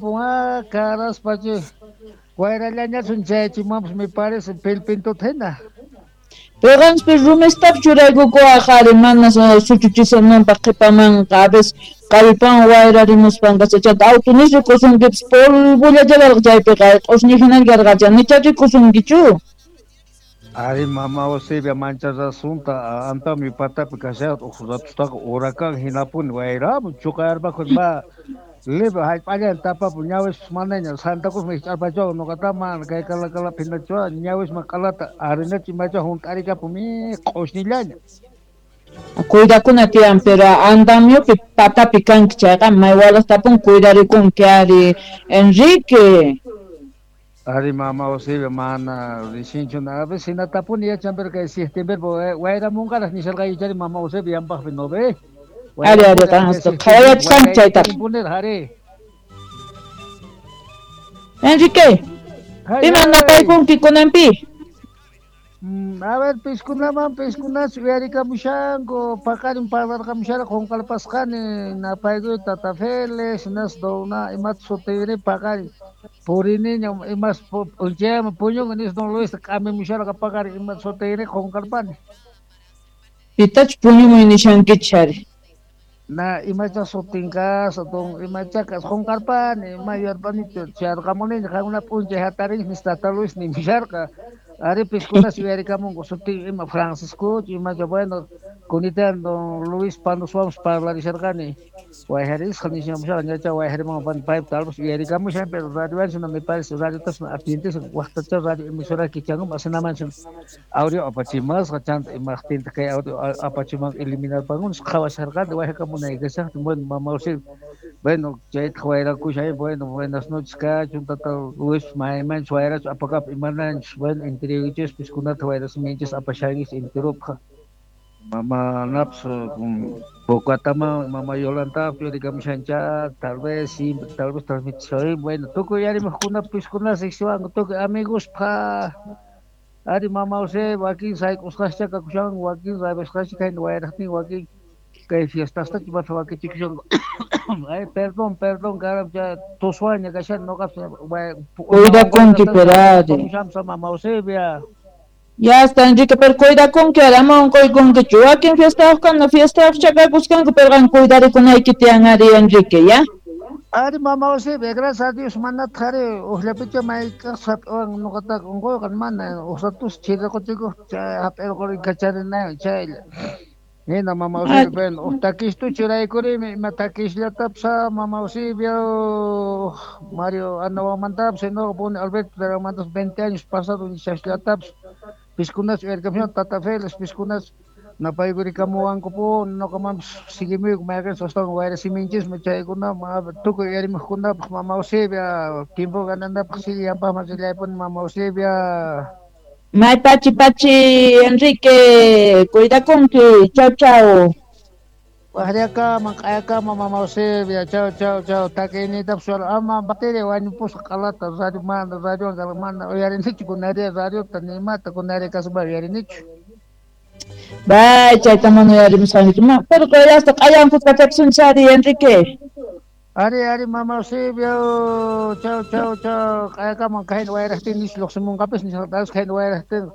Pua caraspachu wayrallañachun chayachimwanpas me parece pilpintuta hina. Piqanchis rumistap churaykukuwaq ari mana suchuchisunanpaq qhipamanqa a veces kallpan wayrarimuspanqa chanta auto ni rikusunkipas polvolla chaypiqa q'usñi hina karqacha nicha rikusunkichu. Ari mama Eusebia mancha rasunta antami patapi kasharqa uq ratustaqa huracán hinapuni wayramun chuqayarpakuy ma leve hallp'allan tapapu ñawispas manaña Santa Cruzman hich'arpachawan nuqata mana kay Calacalapi hinachuwan ñawisman q'alata arenacha imacha hunt'arikapun mi q'ushñillaña. Cuidakuna tiyan, pero andamiopi patapi kanki chayqa may walaqtapun cuidarikunki ari Enrique. Ari mama Eusebia mana risinchu a veces hinatapuni yachan pero kay septiembre wayramunqaraq nisharqaykichari mama Eusebia yanpaqpi no ve. Ari ari qanqa qhawayachisqanki chaytaqa. Ari. Enrique, piman napaykunki kunanpi? A ver, piskunaman piskunas uyarikamushanku paqarin parlarqamushara qunqarpasqani napaykuy tata Félix hinas dona imata sutiyri paqarin puriniña imas p'unchayman puñunqa nis don Luis k'amimusharqa paqarin imata sutiyri qunqarpani. Pitachu puñumuy nishankichis ari? Na imacha sutin kasqa don imacha kasqa qunqarpani ima yuyarpanichu chayarqamuniña qankuna p'unchay hatarinchis nis tata Luis nimusharqa. Ari piskunas uyarikamunku sutin ima Francisco imacha bueno kunitan don Luis Panoswanpas parlarisharqani wayharisqa nishamusharqa ñacha wayharimun paypa tal vez uyarikamushan pero radiowanchu me parece radiotas atiendes waqtacha radio emisora kichankum asinamanchu audio apachimasqa chanta imaqtinta kay audio apachiman eliminarpankunas qhawasharqani wayhakamunay kashaqtin bueno mama Eusebia bueno chaytaq wayrakushan bueno buenas noches kachun tata Luis maymanchus wayrachu apakapa imananchus bueno entreguichis piskunata wayrasminchis apashankichis enteropaq mama naps Pocataman mama Yolanta uyarikamushancha tal vez siempre tal vez transmitishay bueno tukuy yarimuqkuna piskunas riqsiwanku tukuy amigospa ari mama Eusebia wakin sayk'usqascha kakushan wakin rabisqascha kayna wayraqtin wakin kay fiestastachu imata wakichikushanku ay perdón perdón caramba tuswaña kashan nuqapas Cuidakunki pero ari. Mama Eusebia. Ya está Enrique, pero cuidakunki ari, ama unquykunkichu. Wakin fiestayuqkuna fiestayuq chakakusqanku, pero qan cuidarikunayki tiyan ari Enrique, ya? Ari mama Eusebia, gracias a Dios manataq ari uqllapicha mayk'aqpas hap'iwan nuqataqa unquyqa mana uq ratus chiriquchikuq chay hap'irquri kacharinaywan chaylla. Nina mama Eusebia, bueno, uq takistu churaykurimi ima takisllatapas mama Eusebia Mario Anahuamantapas nuqa puni Alberto Taramantapas 20 años pasado nishasllatapas piskunas uyarikamushan tata Félix piskunas napaykurikamuwankupuni nuqamanpas seguimuyku mayqinchus astawan wayrasiminchismi chaykuna tukuy uyarimuqkunapaq mama Eusebia tiempo gananapaq sigue yanpaqman rillaypuni mama Eusebia. May pachi pachi Enrique, cuidakunki, chau chau. Waqllakaman q'ayakaman mama Eusebia, chau chau chau takiyniytapas ama bateria wañupusqa q'alata radio mana radiowan mana uyarinichu kunari radiota ni imata kunari kaspa uyarinichu. Bay chayta mana uyarimusqankichu pero hasta q'ayanku kachapusunchis ari Enrique. Ari ari mama Eusebia, chau chau chau q'ayakaman kayna wayraqtin nish lluqsimunqapis nisharqapas kayna wayraqtin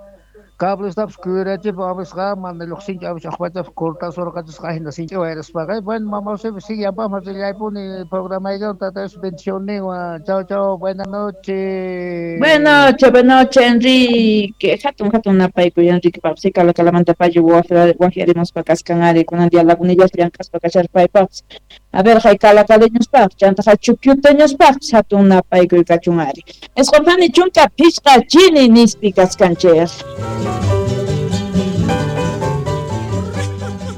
cablestapas kuyurachipa avisqa mana lluqsinchu avis uqpachapas cortasurqachisqa hina sinchi wayraspaqa bueno mama Eusebia sigue yanpaqman rillaypuni programaykiwan tata Dios bendicionninwan chau chau buena noche. Buena noche Enrique, hatun hatun napaykuy Enrique papsi Calacalamanta payo waqyarimuspa kaskan ari kunan día Lagunillas llank'aspa kasharpaypaqpas. A ver, hay calacaleñospaq, chanta hay chukyuteñospaqpis hatun napaykuy kachun ari. Isqunpani chunka phishqa chini nispi kaskanchik.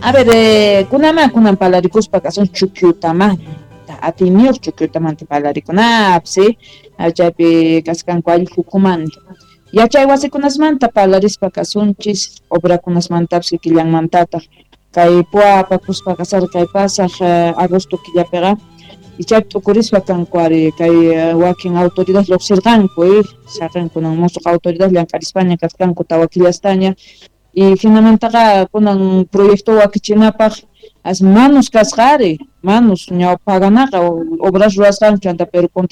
A ver, kunaman kunan palarikuspa kasun chukyutamanta, atiyniyuq chukyutamanta palarikunapis, chaypi kaskanku allqukumanta. Yachay wasikunasmanta palarispa kasunchis, obrakunasmantapis kikillanmantataq. Kay pua apakuspa kasar kay pasaq agosto killapiqa ichaypi t'ukurispa kanku ari kay wakin autoridad lluqsirqanku saqinkunan musuq autoridad llank'arispaña kasqanku tawa killastaña y hinamantaqa kunan proyecto wakichinapaq as manos kasqa ari manos ñawpaganaqa obras ruwasqanku chanta pero